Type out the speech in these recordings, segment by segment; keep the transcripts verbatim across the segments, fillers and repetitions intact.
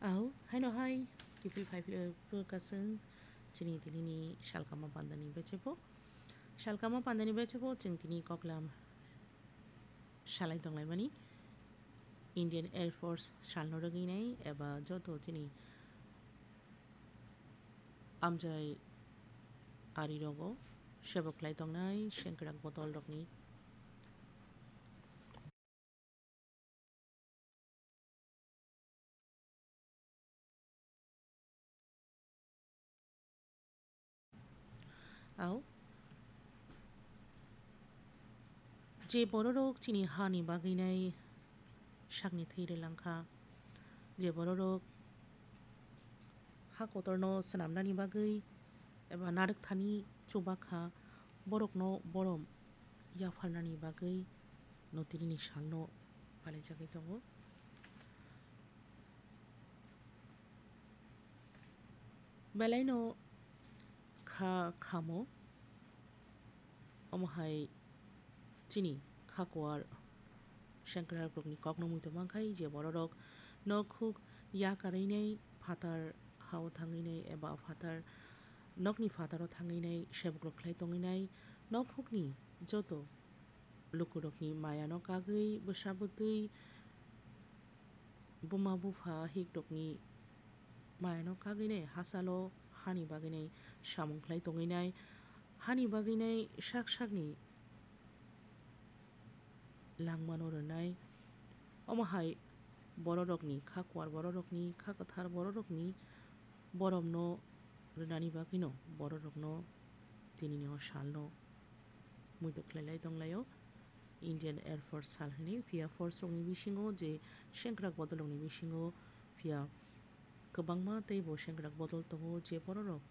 Au, haino hai, kiphil phaiphi, eh, phuru kasung chini tinini salkama pandani bechepo. Salkama pandani bechepo chwng tini koklam salai tonglaimani. Indian Air Force salno rwgwinai eba joto chini amjai ari rogo sebok khlai tongnai sengkrak botol rokni. Au. Je bororok chini hani bagwinai sakni thwi rwlangkha, je bororok ha kotorno swnamnani bagwi eba narwkthani chubakha, borokno borom yapharnani bagwi no tinini salno palaijagwi tongo. Belaino kha khamo, omo hai chini kha kuar sengkrakrokni kokno muitu mankhai, je bororok nok huk yakarwinai phatar hao thangwinai eba phatar nokni phataro thangwinai sebukrok khlai tongwinai nok hukni joto lukurokni mayano kagwi bwsa bwtwi buma bupha hikrokni mayano kagwinai hachalo hani bagwinai samung khlai tongwinai, hani bagwinai sak sakni langmano rwnai. Omo hai bororokni kha kuar bororokni kha kwthar bororokni boromno rwnani bagwino bororokno tinini o salno muitu khlailai tonglaio. Indian Air Force sal hwnwi phiya force rokni bisingo je sengkrak bodolrokni bisingo phiya kwbangma teibo sengkrak bodol tongo je bororok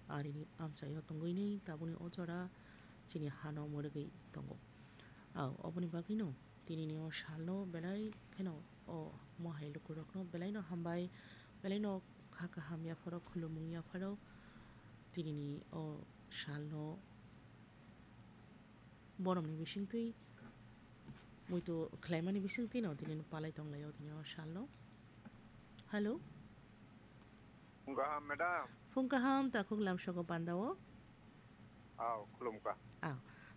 arini amchaio tongwini tabukni o jora chini hano mwrwgwi tongo. Au, oboni bagwino tinini o salno belai kheno o mohai lukurokno belaino hambai, belaino kha kaham yapharo khulumung yapharo tinini o salno boromni bisingtwi muitu khlaimani bisingtwino tini palai tonglaio tini o salno. Hello. Phung kaham, madam. Phung kaham, takhuk lamsogo pandao. Aw, khulumkha. Aw.